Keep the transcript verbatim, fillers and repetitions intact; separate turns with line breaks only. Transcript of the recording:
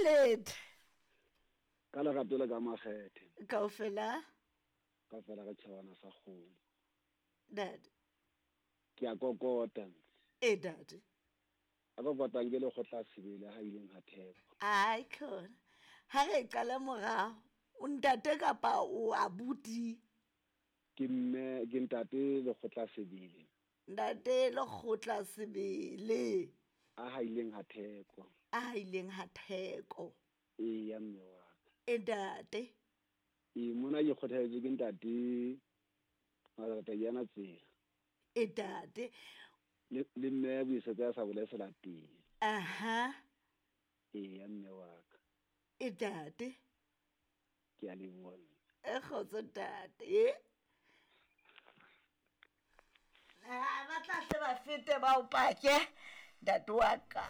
Lethe.
Ka lerato le ka makgethe.
Kaofela.
Kaofela re tjhabana sa kgomo.
Ntate.
Ke a kokota.
E ntate.
A kokotang ke lekgotla sebele ha ileng ha theko.
Ai khona. Ha re qala morao, o ntate kapa o abuti?
Ke mme, ke ntate lekgotla sebele.
Ntate lekgotla sebele.
A ha ileng ha theko.
A ha ileng ha theko.
E ya mme wa ka.
E ntate.
E mona ke kgothaditswe ke ntate Mathata yana tsela.
E ntate.
Le le mme buisetsa ya sa bole selateng.
Aha.
E ya mme wa ka.
E ntate.
Ke a leboha.
E kgotso ntate. Ah, ba tla hle ba fete ba o pake ntate wa ka.